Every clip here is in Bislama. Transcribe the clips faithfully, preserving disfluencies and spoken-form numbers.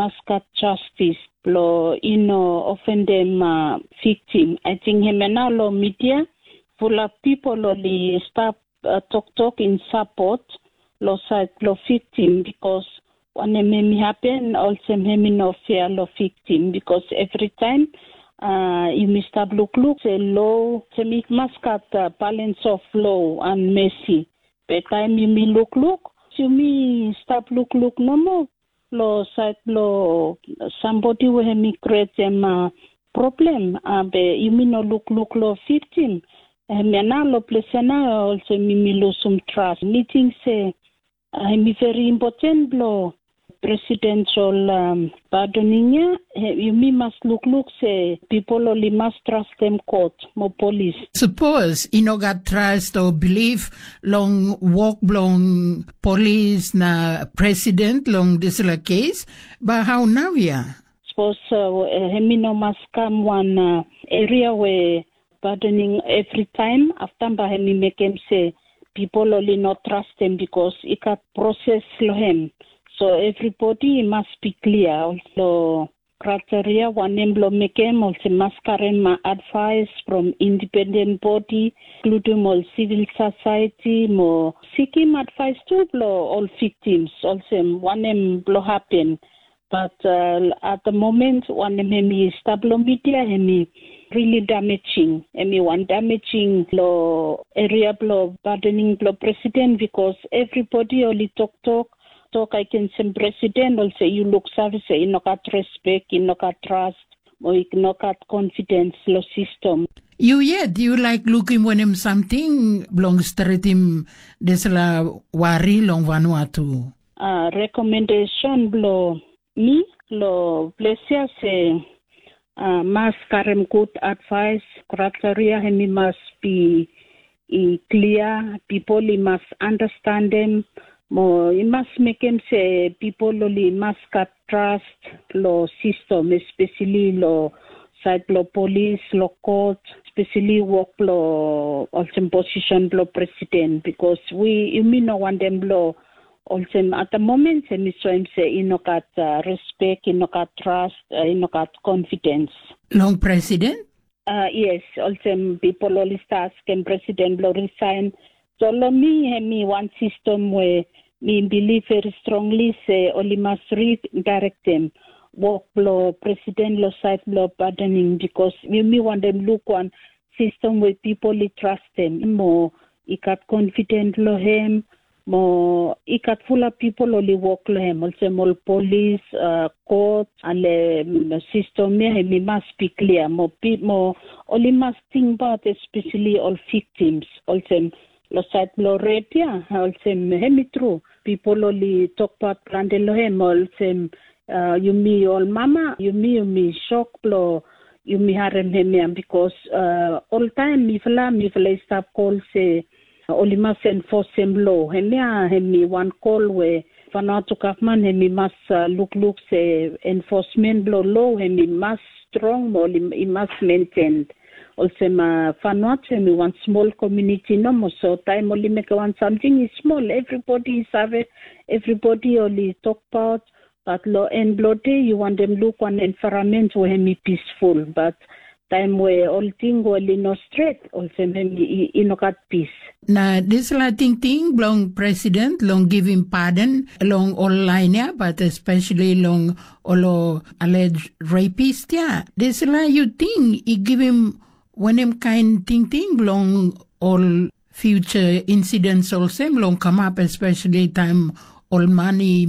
mas gat jastis blong i no ofendem viktim. Ating hemia nao long midia fulap pipol oli stap toktok in sapot long sait blong viktim, bikos wanem hem i hapen olsem hem i no fea long viktim, bikos evritaem yumi stap lukluk se lo olsem i mas gat balens of lo and mesi. Be taem yumi lukluk, yumi stap lukluk nomo long sait blong sambodi we hem i krietem problem, be yumi no lukluk long viktim. Hemia nao long ples ya nao olsem yumi lusum tras. Mi ting se hem i veri impoten blong presidensol padoning ya, yumi mas lukluk se pipol oli mas trastem kot mo polis. Sapos i no gat tras o bilif long wok blong polis na presiden long dispela kes, bai hau nau ya? Sapos hem i no mas kam wan eria we padoning evritaem, afta bai hem i mekem se pipol oli no trastem, bikos i gat proses long hem. So evribodi i mas bi klia long kriteria wanem blong mekem, olsem mas karem advaes from indipenden bodi, inkludim ol sivil sosaeti, mo sikim advaes tu blong ol viktims olsem wanem blong hapen. Bat at da momen wanem hem i stap long midia, hem i rili damejing. Hem i wan damejing long eria blong padoning blong presiden, bikos evribodi oli toktok tok agensim presiden olsem yu luksave se i no gat respek, i no gat tras, mo i no gat konfidens long sistem. Yu yet yu laik lukim wanem samting blong stretim dispela wari long Vanuatu? Rekomendesen blong mi long ples ya se mas karem gud advaes, kriteria hem i mas bi i klia, pipol i mas anastanem, mo i mas mekem se pipol oli mas gat tras long sistem, espeseli long sait blong polis, long kot, espeseli wok blong olsem posisen blong presiden, bikos wi yumi no wantem blong olsem at da momen se mi soem se i no gat respek, i no gat tras, i no gat konfidens. Long presiden? Yes, olsem pipol oli stap askem presiden blong risaen. So long mi hem i wan sistem we mi bilif veri strongli se oli mas ridaerektem wok blong presiden long sait blong padoning, bikos yumi wantem luk wan sistem we pipol i trastem mo i gat konfiden long hem, mo i gat fulap pipol oli wok long hem, olsem ol polis, kot, ale sistem ya hem i mas bi klia mo oli mas tingbaot espeseli ol viktims, olsem long sait blong rep ya, olsem hem i tru pipol oli tokbaot plante long hem, olsem yumi ol mama, yumi yumi sok blong yumi harem hemia, bikos oltaem mifala mifala i stap kol se oli mas enfosem lo. Hemia hem i wan kol we Vanuatu gavman hem i mas lukluk se enfosmen blong lo hem i mas strong mo i mas menten. Olsem Vanuatu hem i wan smol komuniti nomo, so taem oli mekem wan samting i smol, evribodi i save, evribodi oli tokbaot. Bat long en blong de yu wantem luk wan envaeramen we hem i pisful, bat taem we ol ting we oli no stret, olsem hem i no gat pis. Na dispela tingting blong presiden long givim paden long ol lain ya, bat espeseli long ol alej repis ya, dispela yu ting i givim wanem kaen tingting long ol fiuja insidens olsem long kamap, espeseli taem ol man i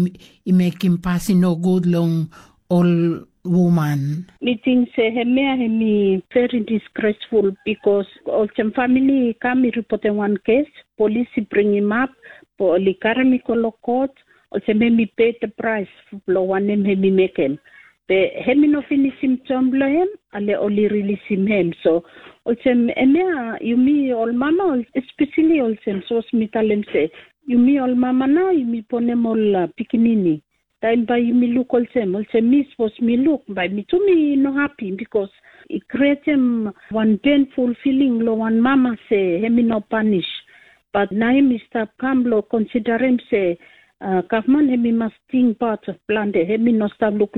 mekim pasin nogud long ol woman? Mi ting se hemia hem i veri disgresful, bikos olsem famili i kam i ripotem wan kes, polis i bringimap, oli karem i go long kot, olsem hem i pe de praes blong wanem hem i mekem. Be hem i no finisim tom blong hem, ale oli rilisim hem. So olsem hemia yumi ol mama, espeseli olsem sapos mi talem se yumi ol mama nao yumi bonem ol pikinini, taem bae yumi luk olsem, olsem mi sapos mi luk, bae mi tu mi no hapi, bikos i krietem wan penful filing long wan mama se hem i no panis. Bat nao hem i stap kam blong konsiderem se gavman hem i mas tingbaot plante, hem i no stap luk